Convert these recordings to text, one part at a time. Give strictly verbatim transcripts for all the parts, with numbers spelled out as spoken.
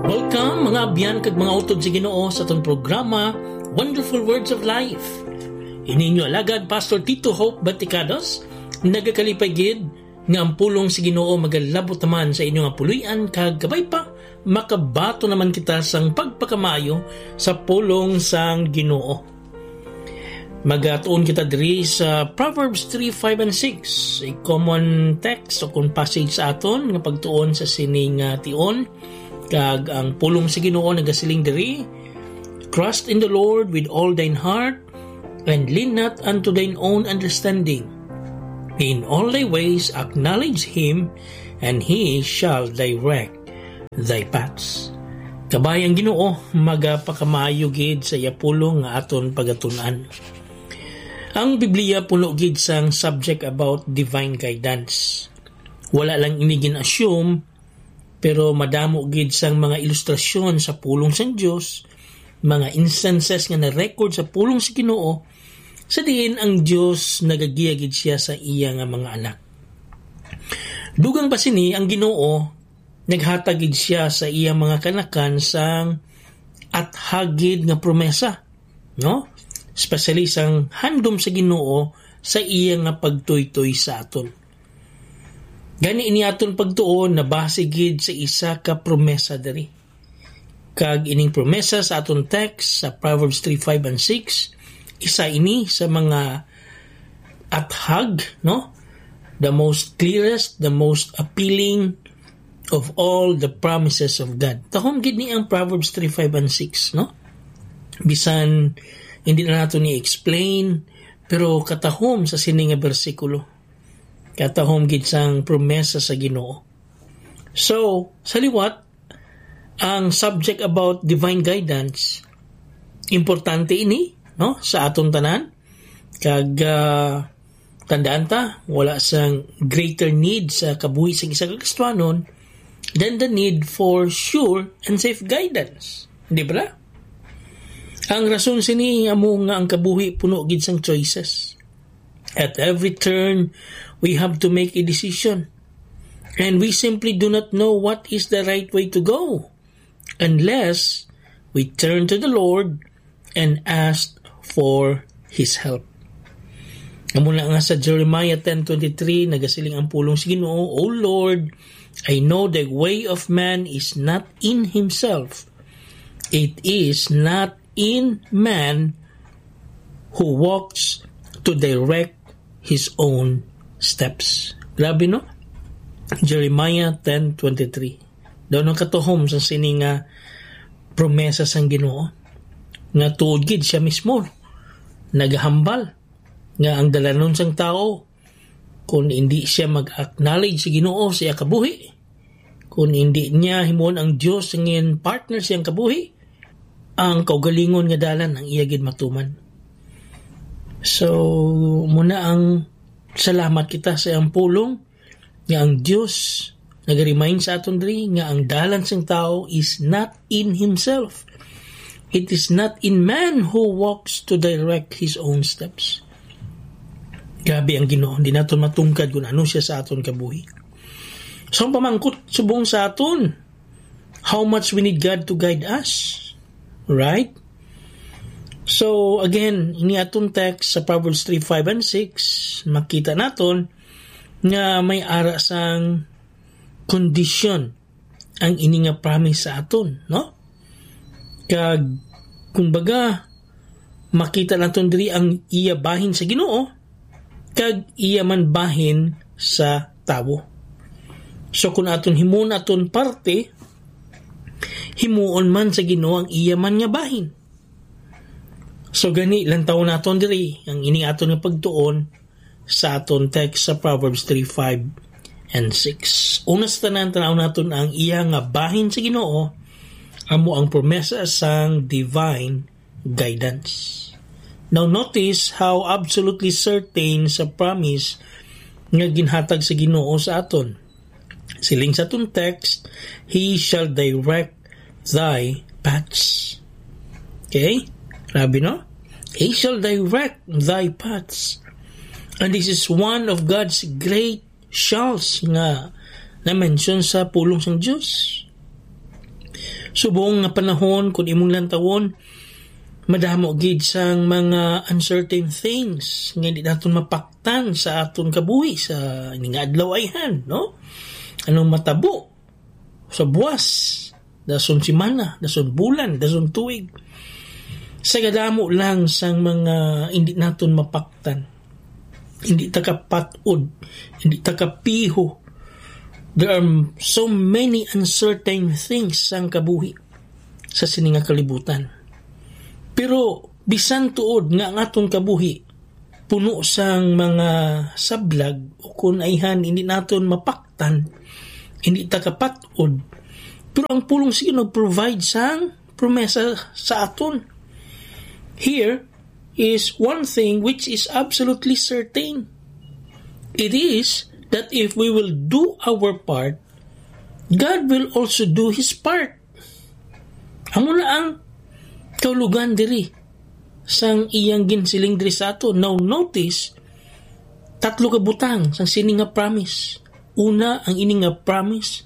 Welcome, mga abyan kag mga utod sa Ginoo, sa atong programa, Wonderful Words of Life. Ini inyo alagad, Pastor Tito Hope Baticados, nagakalipay gid nga ang pulong sa Ginoo magalabot naman sa inyo nga puloy-an, kag kabay pa, makabaton naman kita sang pagpakamaayo sa pulong sang Ginoo. Magatuon kita diri sa Proverbs three, five, and six, a common text o kon passage sa aton nga pagtuon sa sining, ah, tion. Kag ang pulong sa Ginoo nagasiling diri, "Trust in the Lord with all thine heart, and lean not unto thine own understanding. In all thy ways acknowledge him, and he shall direct thy paths." Kabay, ang Ginoo magapakamaayo gid sa iya pulong nga aton pagatun-an. Ang Biblia puno gid sang subject about divine guidance. Wala lang ini gin-assume, pero madamo gid sang mga ilustrasyon sa pulong sang Dios, mga instances nga na-record sa pulong sa Ginoo, sa diin ang Dios nagagiya gid siya sa iya nga mga anak. Dugang pa sini, ang Ginoo naghatag gid siya sa iya mga kanakan sang athag gid nga promesa, no? Especially sang handom sa Ginoo sa iya nga pagtuytoy sa aton. Gani, ini aton pagtuon nabase gid sa isa ka promesa diri. Kag ining promesa sa aton text sa Proverbs three, five, and six, isa ini sa mga athag, no? The most clearest, the most appealing of all the promises of God. Tahom gid ni ang Proverbs three, five, and six, no? Bisan hindi na nato ni explain, pero katahom sa sini nga bersikulo. Katahom gid sang promesa sa Ginoo. So, sa liwat, ang subject about divine guidance, importante ini, no, sa aton tanan. Kag, ah, tandaan ta, wala sang greater need sa kabuhi sang isa ka Kristiyanon than the need for sure and safe guidance. Di ba? Ang rason sini amo nga ang kabuhi puno gid sang choices. At every turn, we have to make a decision. And we simply do not know what is the right way to go unless we turn to the Lord and ask for His help. Amo na nga sa Jeremiah ten twenty-three, nagasiling ang pulong sa Ginoo, "O Lord, I know the way of man is not in himself. It is not in man who walks to direct his own steps." Grabe, no? Jeremiah ten twenty-three. Daw nang katuhom sa sini nga promesa sang Ginoo, nga tuod gid siya mismo nagahambal nga ang dalanon sang tawo, kung hindi siya mag-acknowledge sa Ginoo sa iya kabuhi, kung hindi niya himuon ang Dios singin partner sa iyang kabuhi, ang kaugalingon nga dalan ang iya gid matuman. So, muna ang salamat kita sa iyang pulong nga ang Dios nag-remind sa aton diri nga ang dalan sang tawo is not in himself. It is not in man who walks to direct his own steps. Grabe ang Ginoo, hindi naton matungkad kung ano siya sa aton kabuhi. So, ang pamangkot subong sa aton, how much we need God to guide us, right? So, again, ini aton text sa Proverbs three, five, and six, makita naton nga may ara sang kondisyon ang ini nga promise sa aton, no? Kag, kumbaga, makita naton diri ang iya bahin sa Ginoo, kag iya man bahin sa tawo. So, kung aton himuon aton parte, himuon man sa Ginoo ang iya man nga bahin. So, gani, lantawon naton diri ang ini aton nga pagtuon sa aton text sa Proverbs three, five, and six. Una sa tanan, tan-aw naton ang iya nga bahin sa Ginoo, amo ang promesa sang divine guidance. Now, notice how absolutely certain sa promise nga ginhatag sa Ginoo sa aton. Siling sa aton text, "He shall direct thy paths." Okay? Grabe, no? "He shall direct thy paths." And this is one of God's great shalls nga na-mention sa pulong sang Dios. Subong nga panahon, kung imong lantawon, madamo gid sang mga uncertain things nga hindi naton mapaktan sa aton kabuhi sa ini nga adlaw ayhan, no? Anong matabo sa buwas, dason semana, dason bulan, dason tuig? Sa kadamo lang sang mga hindi naton mapaktan, hindi ta kapat-od, hindi ta kapiho. There are so many uncertain things sang kabuhi sa sini nga kalibutan. Pero bisan tuod nga ang aton kabuhi puno sang mga sablag o kun ayhan hindi naton mapaktan, hindi ta kapat-od, pero ang pulong sa Ginoo provide sang promesa sa aton. Here is one thing which is absolutely certain. It is that if we will do our part, God will also do His part. Amo na ang kaulugan diri sang iyang ginsiling diri sa ato. Now notice, tatlo ka butang sang sini nga promise. Una, ang ini nga promise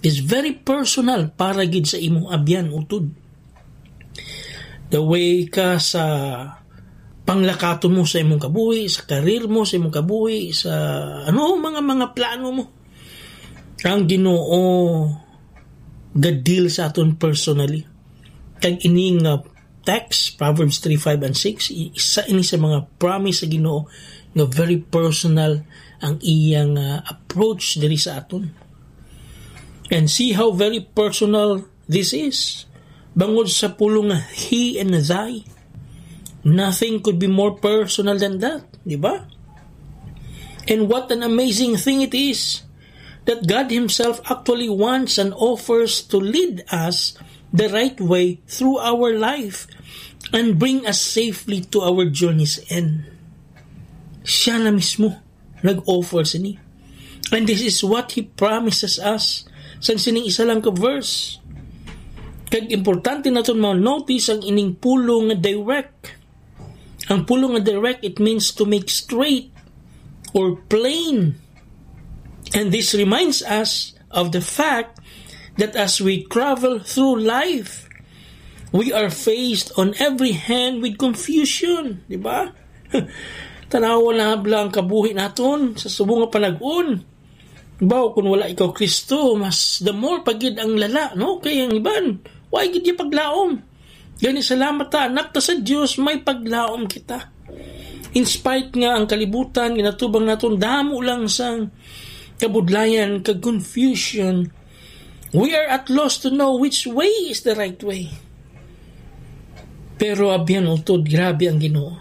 is very personal para gid sa imong abyan, utod. The way ka sa panglakaton mo sa imong kabuhi, sa career mo, sa imong kabuhi, sa ano, mga, mga plano mo. Ang Ginoo ga-deal sa aton personally. Kag ini nga text, Proverbs three, five, and six, i-, isa ini sa mga promise sa Ginoo nga very personal ang iyang, ah, approach diri sa aton. And see how very personal this is. Bangod sa pulong nga he and thy, nothing could be more personal than that, di ba? And what an amazing thing it is that God Himself actually wants and offers to lead us the right way through our life and bring us safely to our journey's end. Siya na mismo nag-offer sini. And this is what He promises us sang sining isa lang ka verse. Kag importante naton ma-notice ang ining pulong nga direct. Ang pulong nga direct, it means to make straight or plain. And this reminds us of the fact that as we travel through life, we are faced on every hand with confusion, di ba? Tanawa na bala ang kabuhi naton sa subong nga panag-on. Baw, kung wala ikaw Kristo, mas the more pa gid ang lala, no? Kay ang iban, wa gid niya paglaom. Gani, salamat ta, anak ta sa Dios, may paglaom kita. In spite nga ang kalibutan, ginatubang naton damo lang sang kabudlayan kag confusion, we are at loss to know which way is the right way. Pero abyan, utod, grabe ang Ginoo.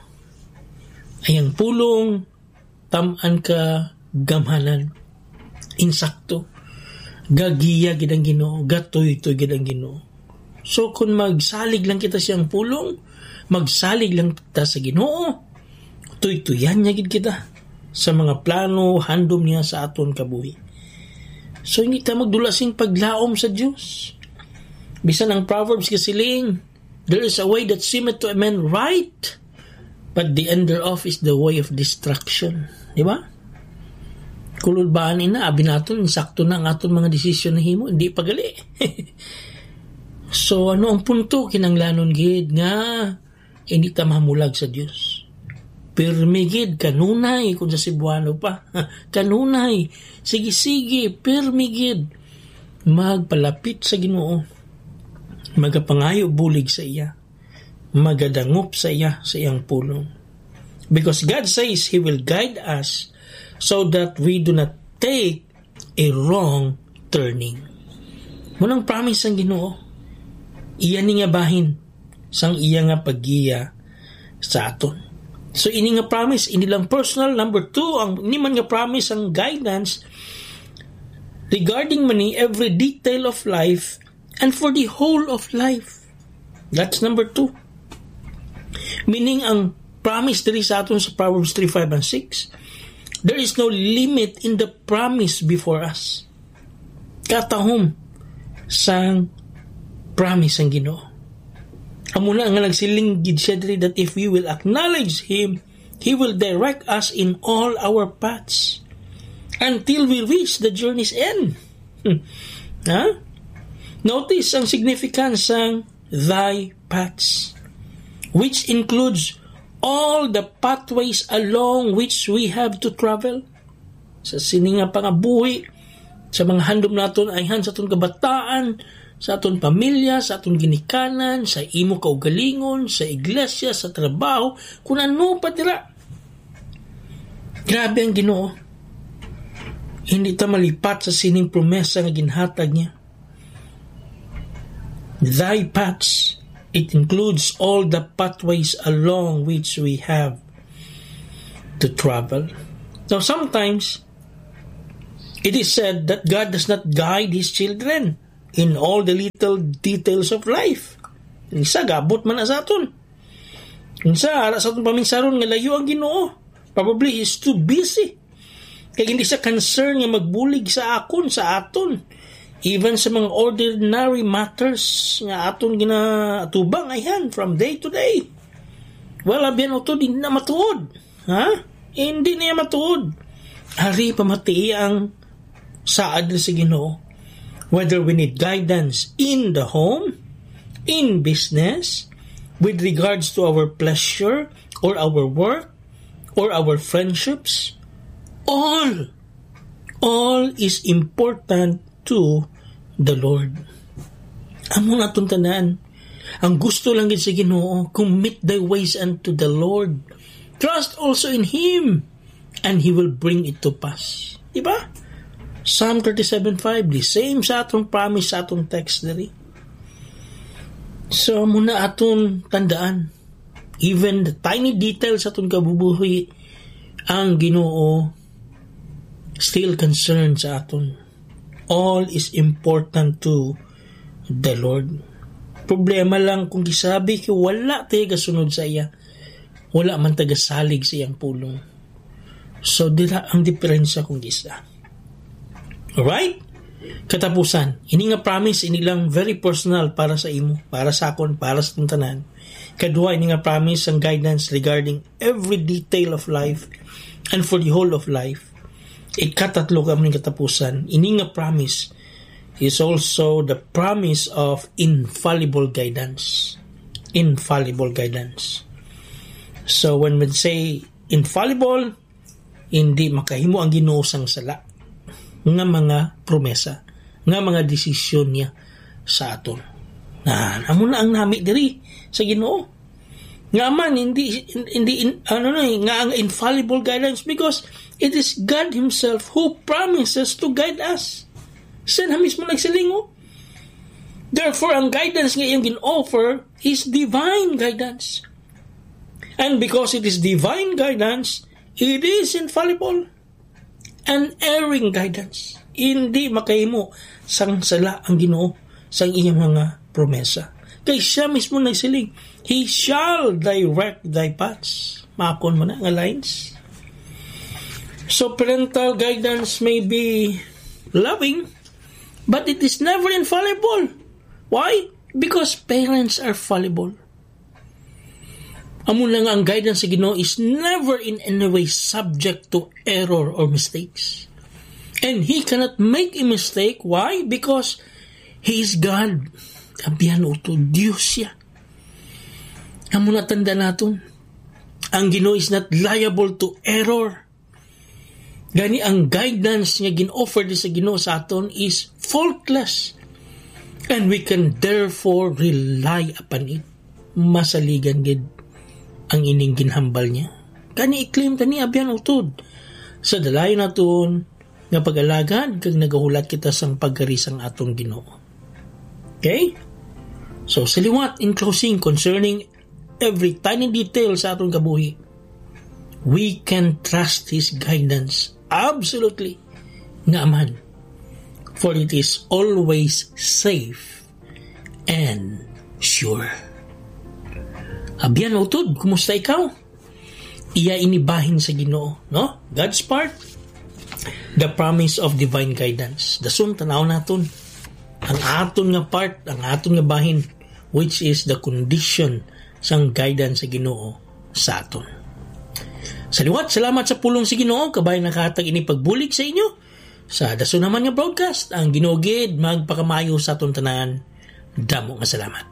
Ang iyang pulong, tam-an ka gamhanan. Insakto. Gagiya gid ang Ginoo, gatuytoy gid ang Ginoo. So, kung magsalig lang kita sa iyang pulong, magsalig lang ta sa Ginoo, tuytuyan niya gid kita sa mga plano, handom niya sa aton kabuhi. So, hindi ta magdula sing paglaom sa Dios. Bisan ang Proverbs kasiling, "There is a way that seemeth to a man right, but the end thereof is the way of destruction." Di ba? Kulod ba ani na, abi naton, sakto na ang aton mga desisyon na himo, hindi pa gali. So, ano ang punto? Kinanglanon gid nga hindi ta mamulag sa Dios. Pirmi gid, kanunay, kung sa Cebuano pa. Kanunay, sige-sige, pirmi gid. Magpalapit sa Ginoo. Magapangayo bulig sa iya. Magadangop sa iya, sa iyang pulong. Because God says He will guide us so that we do not take a wrong turning. Mao nang promise sang Ginoo. Iya ni nga bahin sang iya nga paggiya sa aton. So, ini nga promise, ini lang personal. Number two, ang ini man nga promise, ang guidance regarding man ni every detail of life and for the whole of life. That's number two. Meaning, ang promise diri sa aton sa Proverbs three, five, and six, there is no limit in the promise before us. Katahom sang promise sang Ginoo. Amo na nga nagsiling gid siya diri that if we will acknowledge Him, He will direct us in all our paths until we reach the journey's end. Hmm. Ha? Notice ang significance sang thy paths, which includes all the pathways along which we have to travel. Sa sini nga pangabuhi, sa mga handom naton ayhan sa aton kabataan, sa aton pamilya, sa aton ginikanan, sa imo kaugalingon, sa iglesia, sa trabaho, kun ano pa dira. Grabe ang Ginoo. Hindi ta malipat sa sining promesa nga ginhatag niya. Thy paths, it includes all the pathways along which we have to travel. Now, sometimes, it is said that God does not guide His children in all the little details of life. Isa, gabot man na sa aton. Isa, ara sa aton paminsaron nga layo ang Ginoo. Probably He's too busy. Kay hindi siya concern nga magbulig sa akon, sa aton. Even sa mga ordinary matters nga aton ginaatubang, ayan, from day to day. Well, abyan, utod, hindi na matuod. Ha? Hindi niya matuod. Ari, pamatii ang saad sa Ginoo. Whether we need guidance in the home, in business, with regards to our pleasure or our work or our friendships, all, all is important to the Lord. Amo na atong tanan. Ang gusto lang gid sa Ginoo, "Commit thy ways unto the Lord. Trust also in Him, and He will bring it to pass." Di ba? Psalm thirty-seven five, the same sa atong promise, sa atong text diri. So, amo na atong tandaan. Even the tiny details sa atong kabubuhi, ang Ginoo still concerned sa aton. All is important to the Lord. Problema lang kung gisabi kay wala tayo gasunod sa iya. Wala man taga salig sa iyang pulong. So, dira ang diferensya kung gisa. Alright? Katapusan, ini nga promise, ini lang very personal para sa imo, para sa akon, para sa tanan. Kadua, ini nga promise ang guidance regarding every detail of life and for the whole of life. Ikatatlo ka man katapusan, ini nga promise is also the promise of infallible guidance. Infallible guidance. So when we say infallible, hindi makahimo ang Ginoo sang sala nga mga promesa, nga mga desisyon niya sa aton. Na, amo na ang nami diri sa Ginoo. Nga man, hindi, hindi, in-, ano na eh, nga ang infallible guidance, because it is God Himself who promises to guide us. Siya na mismo nagsiling, oh. Therefore, ang guidance nga iyang gin-offer is divine guidance. And because it is divine guidance, it is infallible. Unerring guidance. Hindi makahimo sang sala ang Ginoo sang iyang mga promesa. Kay siya mismo nagsiling, "He shall direct thy paths." Makon mo na nga lines. So, parental guidance may be loving, but it is never infallible. Why? Because parents are fallible. Amo na nga ang guidance sa Ginoo is never in any way subject to error or mistakes. And He cannot make a mistake. Why? Because He is God. Abyan, utod, Dios siya. Amo na tanda naton. Ang Ginoo is not liable to error. Gani ang guidance nga gin-offer di sa Ginoo sa aton is faultless, and we can therefore rely upon it. Masaligan gid ang ining ginhambal niya. Gani i-claim tani, abyan, utod, sa dalayon naton nga pag-alagad kag nagahulat kita sang pagkari sang aton Ginoo. Okay? So, sa liwat, in closing, concerning every tiny detail sa aton kabuhi, we can trust His guidance absolutely. Nga man, for it is always safe and sure. Abyan, utod, kumusta ikaw? Iya ini bahin sa Ginoo, no? God's part, the promise of divine guidance. Dason, tanaw naton ang aton nga part, ang aton nga bahin, which is the condition sang guidance sa Ginoo sa aton. Sa liwat, salamat sa pulong sa Ginoo, kabay nakahatag ini pagbulig sa inyo. Sa dason naman nga broadcast, ang Ginoo gid magpakamayo sa aton tanan. Damo nga salamat.